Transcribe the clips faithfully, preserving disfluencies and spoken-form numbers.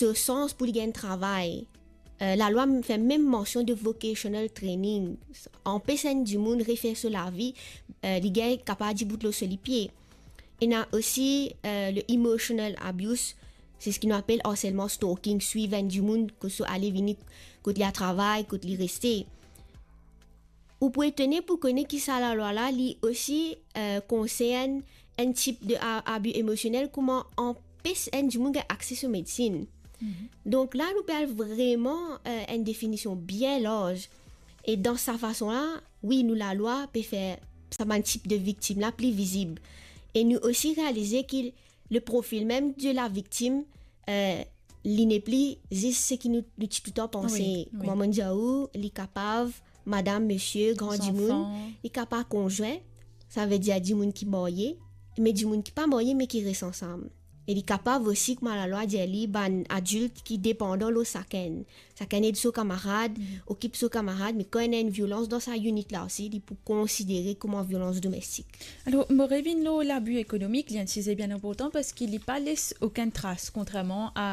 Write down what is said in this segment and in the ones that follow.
so sans pou li gagn travay. Eh, lalwa m-, fer mem mansion de vocational training, anpes enn dimoun refer so lavi, eh, li gagn kapav dibout lor so lipie. Ena osi, eh, le emotional abuse, se seki nou apel harselman, stalking, swiv enn dimoun kot so ale vini, kot li al travay, kot li reste. Ou pou etone pou kone ki sa lalwa la, li osi, eh, konsern enn tip de a-, abi emosionel, kouma anpes enn dimoun gagn akse so medsin. Mhm. Donk la, nou pe al vreman, eh, enn definision bien larz. E dan sa fason la, wi, nou lalwa pe fer sa bann tip de viktim la pli vizib. E nou osi realize ki le profil mem de la viktim, eh, li nepli zis seki nou, nou ti toutan panse. Wi, wi. Kouma mo'nn dir ou, li kapav madam, misie, gran dimoun, li kapav konzwin, savedir dimoun ki marye, me dimoun ki pa marye, me ki res ansam. E li kapav osi, kouma lalwa dir li, bann adilt ki depandan lor sakenn. Sakenn ed so kamarad, okip so kamarad, me kan ena enn violans dan sa init la osi, li pou konsidere kouma violans domestik. Alor, mo revinn lor labi ekonomik, li enn size bien inportan parski li pa les okenn tras, kontrerman a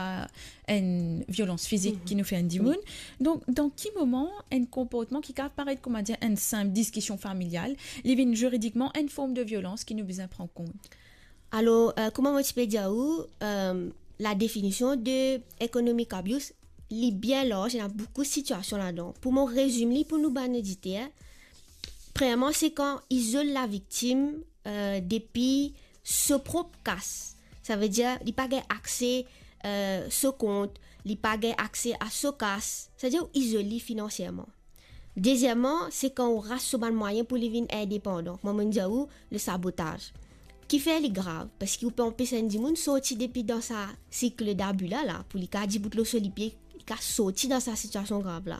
enn violans fizik ki nou fer enn dimoun. Wi. Donk, dan ki moman enn konportman ki kapav paret, kouma dir, enn sinp diskision familial, li vinn ziridikman enn form de violans ki nou bizin pran kont? Alor, eh, kouma mo ti pe dir ou, eh, la definision de economic abuse, li bien larz, ena boukou sitiasion ladan. Pou mo rezim li pou nou bann oditer, premierman, se kan izol laviktim, eh, depi so prop kas. Savedir, li pa gagn akse, eh, so kont, li pa gagn akse a so kas. Savedir, ou izol li finansierman. Dezierman, se kan ou ras so bann mwayin pou li vinn indepandan. Kouma mo'nn dir ou, le sabotaz. Kifer li grav? Parski ou pe anpes enn dimoun sorti depi dan sa sirk dabi la, la, pou li kapav dibout lor so lipie, li kapav sorti dan sa sitiasion grav la.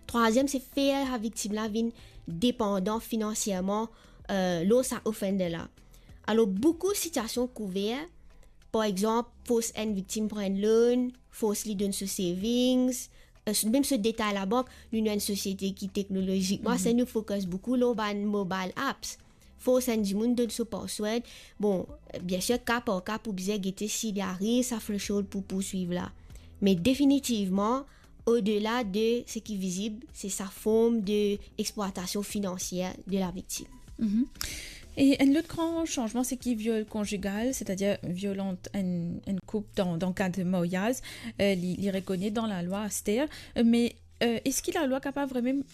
Trwaziem, se fer laviktim la vinn depandan finansierman, eh, lor sa offender la. Alor, boukou sitiasion kouver, par exanp, fors enn viktim pran enn loan, fors li donn so savings, eh, mem so detay labank, nou, nou enn sosiete ki teknolozik. Mwa, se nou focus boukou lor bann mobile apps. Fors enn dimoun donn so password. Bon, biensir, ka par ka pou bizin gete si li ariv sa threshold pou pourswiv la. Me definitivman, odela de seki vizib, se sa form de eksplwatasion finansier de laviktim. Mhm. E enn lot gran sanzman, seki viol konzigal, setadir viol ant enn, enn koup dan, dan kad maryaz, eh, li, li rekonet dan lalwa aster, eh, me, eh, eski lalwa kapav vremem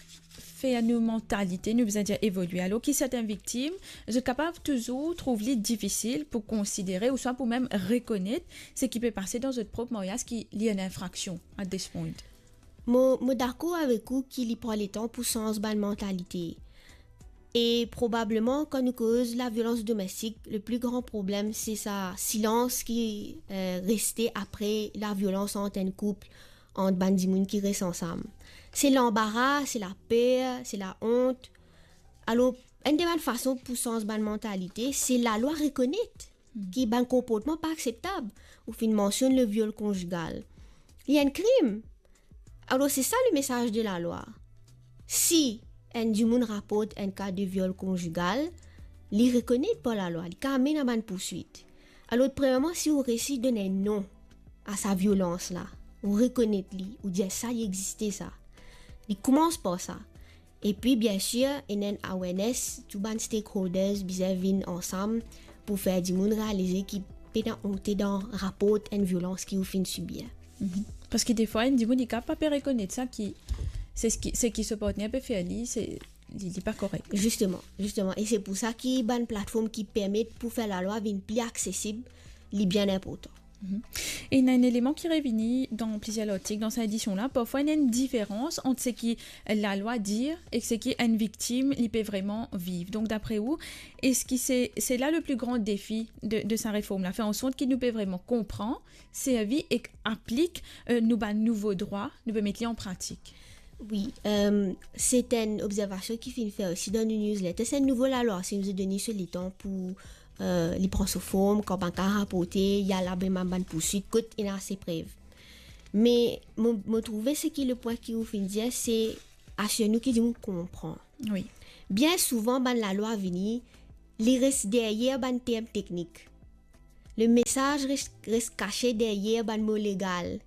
fer nou mantalite, nou bizin dir evolie? Alor ki sertin viktim, zot kapav touzour trouv li difisil pou konsidere ouswa pou mem rekonet seki pe pase dan zot prop maryaz ki li enn infraksion at this point. Mo, mo dakor avek ou ki li pran letan pou sanz bann mantalite. E probableman, kan nou koz laviolans domestik, le pli gran problem, se sa silans ki, eh, reste apre laviolans ant enn koup, ant bann dimoun ki res ansam. Se lanbara, se laper, se laont. Alor, enn de bann fason pou sanz bann mantalite, se lalwa rekonet ki bann konportman pa akseptab. Ou finn mansionn le viol konzigal. Li enn krim. Alor, se sa le mesaz de lalwa. Si enn dimoun raport enn ka de viol konzigal, li rekonet par lalwa, li kapav amenn a bann pourswit. Alor, premierman, si ou resi donn enn non a sa violans la, ou rekonet li, ou dir sa, li existe sa. Li koumans par sa. Epi, biensir, ena enn awareness, tou bann stakeholders bizin vinn ansam pou fer dimoun realize ki pena onte dan raport enn violans ki ou finn sibir. Mhm. Parski defwa, enn dimoun, li kapav pa pe rekonet sa ki, se seki, seki so partner pe fer li, se, li, li pa korek. Zisteman, zisteman. E se pou sa ki bann platform ki permet pou fer lalwa vinn pli aksesib, li bien inportan. Mhm. E ena enn eleman ki revini dan plizier lartik dan sa edision la. Parfwa, ena enn diferans ant seki lalwa dir ek seki enn viktim, li pe vreman viv. Donk, dapre ou, eski se, se la le pli gran defi de, de sa reform la, fer an sort ki nou pe vreman konpran, servi ek aplik, eh, nou bann nouvo drwa, nou pe met li an pratik? Wi, eh, se enn obzervasion ki finn fer osi dan nou newsletter. Se enn nouvo lalwa, si nou donn so letan pou, eh, li pran so form, kan bann ka raporte, li al a bann, bann pourswit, kot ena ase prev. Me mo, mo trouve seki le pwin ki ou finn dir, se asir nou ki dimoun konpran. Wi. Bien souvan, bann lalwa vini, li res deryer bann term teknik. Le mesaz res, res kase deryer bann mo legal.